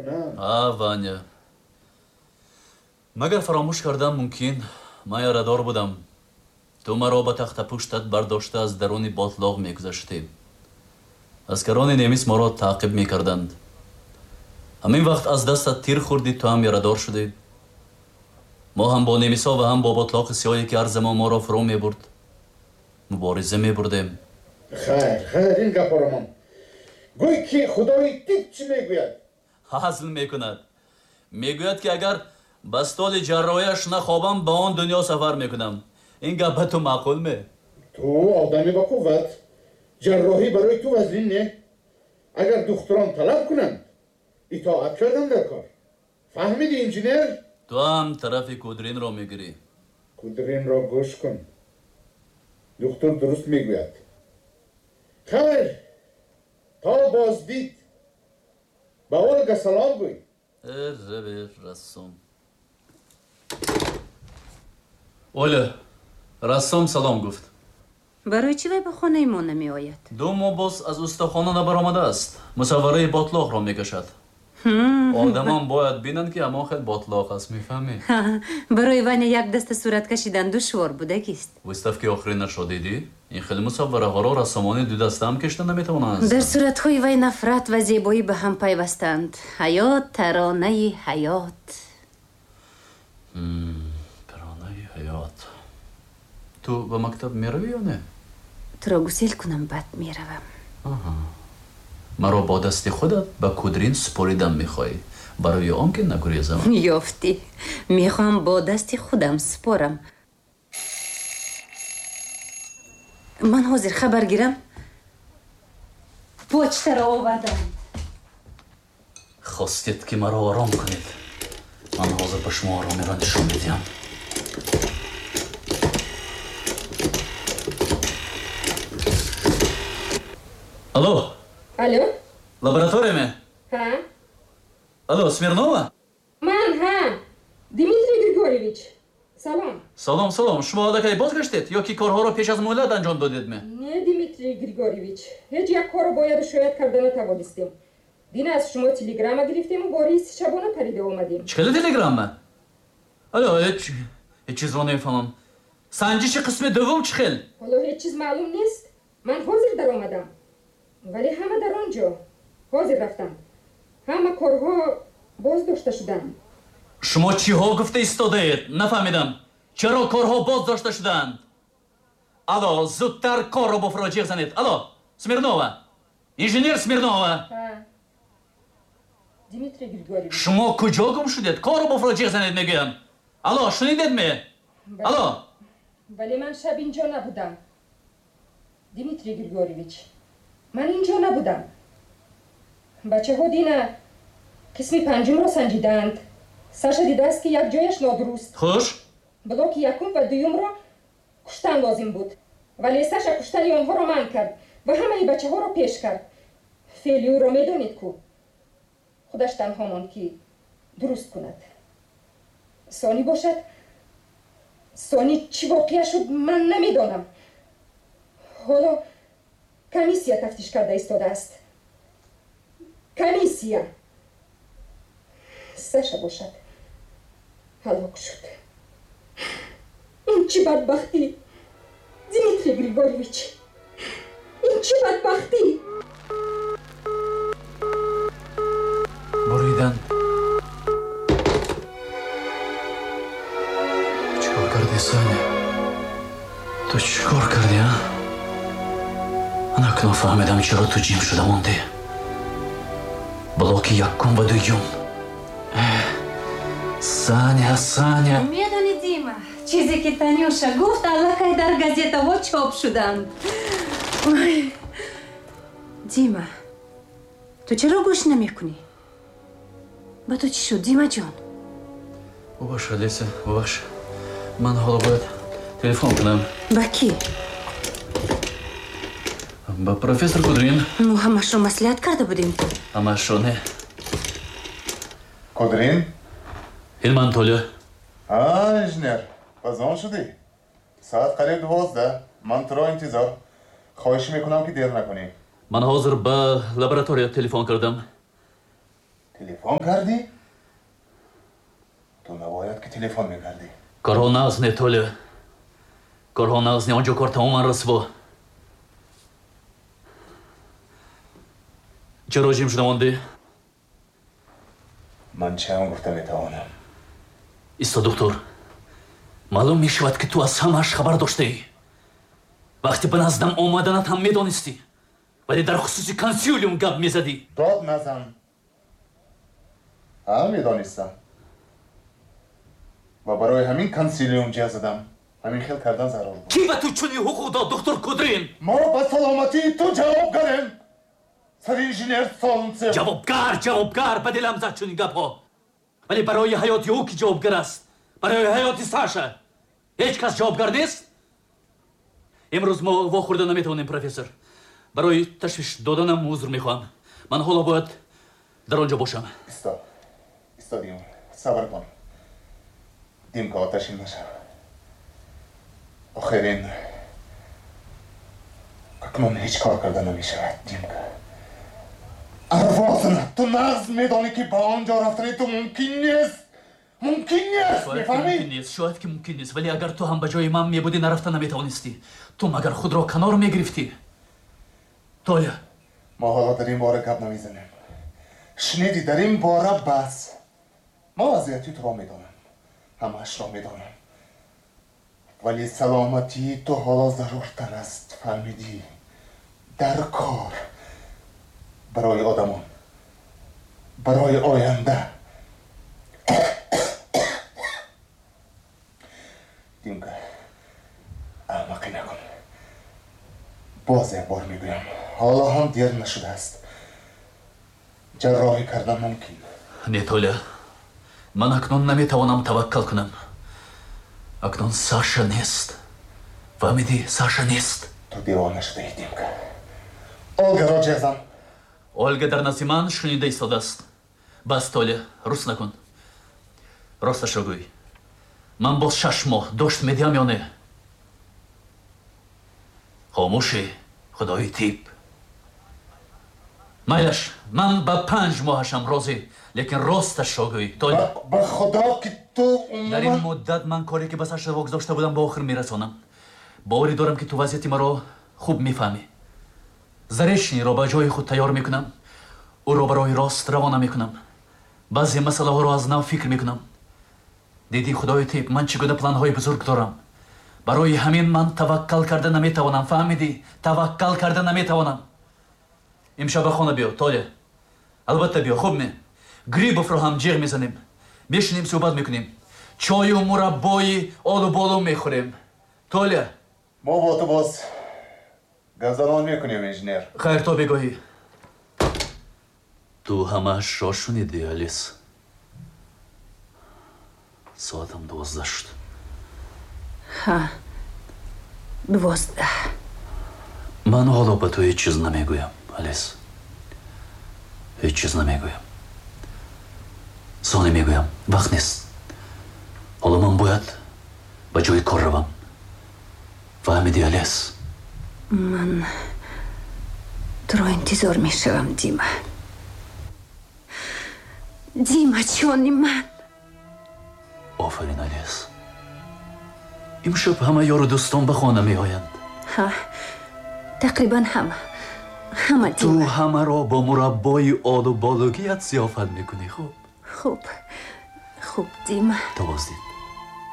кунам. А, Ваня. Магар фаромӯш кардам мумкин? Ман ярадор будам. Ту маро ба тахтапуштат бардошта аз даруни ботлоқ мегузаштӣ. Аскарони немис моро таъқиб мекарданд. Ҳамин вақт аз дастат тир хӯрдӣ, ту ҳам ярадор шудӣ. Мо ҳам бо немисҳо ва ҳам бо ботлоқи сиёҳе ки ҳар замон моро фурӯ мебурд, мубориза мебурдем. Хайр, хайр, ин гапҳоро мон. Гӯй ки худои тиб чӣ мегӯяд? Ҳазл мекунад. Мегӯяд ки агар ба столи ҷарроҳиаш нахобам, ба он дунё сафар мекунам. Ин гап ба ту маъқул ме? Ту одами ба қувват. Ҷарроҳӣ барои ту вазнин не. Агар духтурон талаб кунанд, итоат кардан дар кор. Фаҳмидӣ, инженер? Ту ҳам тарафи Кудринро мегирӣ. Кудринро гӯш кун. Духтур дуруст мегӯяд. Хайр, то боздид. Ба Ольга салом гӯй. Рассом. Оля, Рассом салом гуфт. Барои чӣ вай ба хонаи мо намеояд? Ду моҳ боз аз устохона набаромадааст. Мусаввараи ботлоқро мекашад. Одамон бояд бинанд ки ҳамон хел ботлоқ аст, мефаҳмӣ? Барои Ваня як даста сурат кашидан душвор будагист. Выставки охиринашро дидӣ? Ин хел мусаввараҳоро рассомони дудаста ҳам кашида наметавонанд. Дар суратҳои вай нафрат ва зебоӣ ба ҳам пайвастанд. Ҳаёт, таронаи ҳаёт. Таронаи ҳаёт. Ту ба мактаб меравӣ ё не? Туро гусел кунам, баъд меравам. Маро бо дасти худат ба Кудрин супоридам мехоҳӣ, барои он ки нагурезам. Ёфтӣ. Мехоҳам бо дасти худам супорам. Ман ҳозир хабар гирам. Почтаро овардам. Хостед ки маро ором кунед. Ман ҳозир ба шумо оромиро нишон медиҳам. Алло. Алло. Лаборатория ме? Ҳа. Алло, Смирнова? Ман, ҳа. Дмитрий Григорьевич. Салом. Салом, салом. Шумо аллакай бозгаштед ё ки корҳоро пеш аз муҳлат анҷом додед ме? Не, Дмитрий Григорьевич. Ҳеҷ як корро бояду шояд карда натавонистем. Дина аз шумо телеграмма гирифтему бо рейси шабона парида омадем. Чӣ хеле телеграмма? Алло, ҳеҷ чизро намефаҳмам. Санҷиши қисми дуввум чӣ хел? Ҳоло ҳеҷ чиз маълум нест. Ман ҳозир даромадам. Вале ҳама дар он ҷо. Ҳозир рафтам. Ҳама корҳо боз дошта шуданд. Шумо чиҳо гуфта истодаед? Нафаҳмидам. Чаро корҳо боз дошта шуданд? Алло, зудтар корро бо фуроҷиғ занед. Алло, Смирнова. Инженер Смирнова. Дмитрий Григорьевич. Шумо куҷо гум шудед? Корро бо фуроҷиғ занед мегӯям. Алло, шунидед ме? Алло. Вале ман шаб инҷо набудам. Дмитрий Григорьевич. Ман инҷо набудам. Бачаҳо дина қисми панҷумро санҷиданд. Саша дидааст ки як ҷояш нодуруст. Хуш? Блоки якум ва дуюмро куштан лозим буд. Вале Саша куштани онҳоро манъ кард ва ҳамаи бачаҳоро пеш кард. Феъли ӯро медонед ку? Худаш танҳо монд ки дуруст кунад. Сони бошад? Сони чӣ воқеа шуд, ман намедонам. Ҳоло комиссия тафтиш карда истодааст. Комиссия. Саша бошад ҳалок шуд. Ин чӣ бадбахтӣ, Дмитрий Григорьевич? Ин чӣ бадбахтӣ? Буридан. Чӣ кор кардӣ, Соня? Ту чӣ кор кардӣ, а? Акнун фаҳмидам чаро ту ҷим шуда мондӣ. Блоки якум ва дуюм. Саня, Саня. Медонӣ, Дима, чизе ки Танюша гуфт, аллакай дар газетаҳо чоп шуданд. Ой. Дима, ту чаро гӯш намекунӣ? Ба ту чӣ шуд, Димаҷон? Бубахш, Олеся, бубахш. Ман ҳоло бояд телефон кунам. Ба кӣ? Ба профессор Кудрин. Мо ҳамашро маслиҳат карда будем. Ҳамашро не. Кудрин? Ин ман, Толя. А, инженер, базон шудӣ? Соат қариб 12. Ман туро интизор. Хоҳиш мекунам ки дер накунӣ. Ман ҳозир ба лаборатория телефон кардам. Телефон кардӣ? Ту набояд ки телефон мекардӣ. Корҳо нағз не, Толя. Корҳо нағз не, он ҷо кор тамоман расво. Чаро ҷим шуда мондӣ? Ман чиам гуфта метавонам? Исто, доктор. Маълум мешавад, ки ту аз ҳамааш хабар доштаӣ. Вақте ба наздам омаданат ҳам медонистӣ, вале дар хусуси консилиум гап мезадӣ. Дод назан. Ҳа, медонистам. Ва барои ҳамин консилиум ҷеғ задам. Ҳамин хел кардан зарур буд. Кӣ ба ту чунин ҳуқуқ дод, доктор Кудрин? Мо ба саломатии ту ҷавобгарем, саринженер Солнцев. Ҷавобгар, ҷавобгар, ба дилам зад чунин гапҳо. Вале барои ҳаёти ӯ ки ҷавобгар аст? Барои ҳаёти Саша ҳеҷ кас ҷавобгар нест? Имрӯз мо вохӯрда наметавонем, профессор. Барои ташвиш доданам узр мехоҳам. Ман ҳоло бояд дар он ҷо бошам. Исто, исто, Дима, сабр кун. Димка, оташин нашав. Охир ин акнун ҳеҷ кор карда намешавад, Димка. Арвозна, ту нағз медонӣ, ки ба он ҷо рафтани ту мумкин нест. Мумкин нест, мефаҳмӣ? Мумкин нест, шояд ки мумкин нест, вале агар ту ҳам ба ҷои ман мебудӣ, нарафта наметавонистӣ. Ту магар худро канор мегирифтӣ? Толя. Мо ҳоло дар ин бора гап намезанем. Шунидӣ, дар ин бора бас. Мо вазъияти туро медонам, ҳамаашро медонам. Вале саломатии ту ҳоло заруртар аст, фаҳмидӣ? Дар кор, барои одамон, барои оянда. Димка, аҳмақӣ накун. Боз як бор мегӯям, ҳоло ҳам дер нашудааст. Ҷарроҳӣ кардан мумкин. Не, Толя, ман акнун наметавонам таваккал кунам. Акнун Саша нест. Фаҳмидӣ, Саша нест. Ту девона шудаӣ, Димка. Олгаро ҷеғ зан. Ольга дар назди ман шунида истодааст. Бас, Толя, рус накун. Росташро гӯй. Ман боз 6 моҳ дошт медиҳам ё не? Хомӯшӣ, худои тиб. Майлаш, ман ба 5 моҳашам розӣ, лекин росташро гӯй, Толя. Ба худо ки ту дар ин муддат ман коре ки ба Саша вогузошта будам ба охир мерасонам. Боварӣ дорам, ки ту вазъияти маро хуб мефаҳмӣ. Заречниро ба ҷои худ тайёр мекунам, ӯро ба роҳи рост равона мекунам. Баъзе масъалаҳоро аз нав фикр мекунам. Дидӣ, худои тиб, ман чӣ гуна планҳои бузург дорам. Барои ҳамин ман таваккал карда наметавонам, фаҳмидӣ? Таваккал карда наметавонам. Имшаб ба хона биё, Толя. Албатта биё, хуб ме? Грибовро ҳам ҷеғ мезанем. Мешинем, суҳбат мекунем. Чою мураббои олу-болу мехӯрем. Толя. Мо бо ту боз гапзанон мекунем, инженер. Хайр, то бегоҳӣ. Ту ҳамаашро шунидӣ, Алис. Соатам 12 шуд. Ҳа, 12. Ман ҳоло ба ту ҳеҷ чиз намегӯям, Алис. Ҳеҷ чиз намегӯям. Соне мегӯям, вақт нест. Ҳоло ман бояд ба ҷои кор равам. Фаҳмидӣ, Алис? Ман туро интизор мешавам, Дима. Дима, ҷони ман. Офарин, Алис. Имшаб ҳама ёру дӯстон ба хона меоянд. Ҳа, тақрибан ҳама. Ҳама, Дима. Ту ҳамаро бо мураббои олу-болугият зиёфат мекунӣ, хуб? Хуб, хуб, Дима. То боздид.